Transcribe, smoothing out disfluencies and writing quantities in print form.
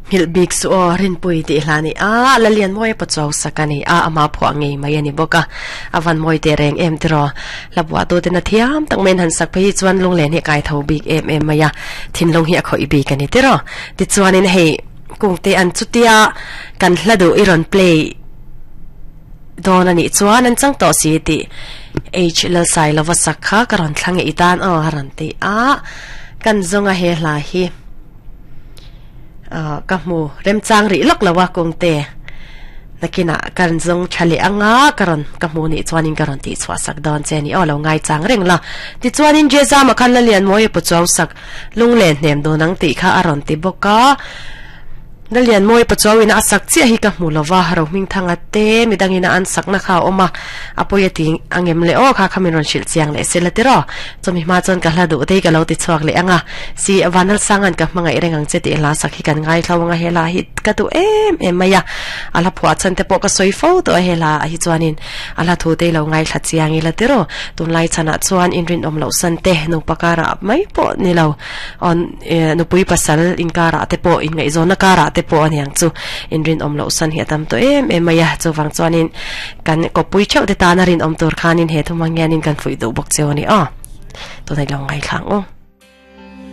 Nghilh bik suh aw, Rinpui tih hla ni a, Lalianmawia Pachuau sak a ni a, ama phuah ngei mai a ni bawk a, a van mawi teh reng em tiraw? Hla buah tuten a thiam tak maiin han sak phei hi chuan lunglen hi a kai tho bik em em mai a, thinlung hi a khawih bik a ni tiraw? Tichuanin hei Kungte an chutia kan hla duh i rawn play dawn a nih chuan an chang tawh si tih H Lalsailova sak kha ka rawn thlang e i tan aw a rawn ti a, kan zawnga he hla hi. Ahh ka hmu remchang rih lawk lo a kungte nakinah ka rawn zawng tha leh anga ka rawn ka hmu nih chuanin ka rawn tih chhuah sak dawn che a ni aw lo ngaichang reng la tichuanin Jezama khan Lalianmawia pu chuau sak lunglen hnem dun ang tih kha a rawn ti bawk a. Lalianmawia Pachuau ina a sak chiah hi ka hmu lo va, Rohmingthanga te midang ina an sakna kha a awm a, a pawi a ti angem le aw kha kha min rawn hrilh chiang leh sela tiraw. Chumi hma chuan ka hla duh te hi ka lo ti chhuak leh ang a, si Vanlalsanga'n ka hmangaih reng ang che tih hla sak hi kan ngaithlo ang a, he hla hi ka duh em em mai a, a hla phuah chhan te pawh ka sawi fo tawh a he hla ah hi chuanin a hla thu te hi lo ngaithla chiang ila tiraw. Tunlai chhanah chuan inrinawm loh san te nupa karah mai pawh ni lo. Aw nupui pasal inkarah te pawh inngaihzawnna karah te pawh aniang chu inrinawm loh san hi a tam tawh em em mai a, chuvang chuanin kan kawppui theuh te tana rinawm tur khanin he thumang hianin kan fuih duh bawk cheu a ni aw, tunah i lo ngaithla ang u.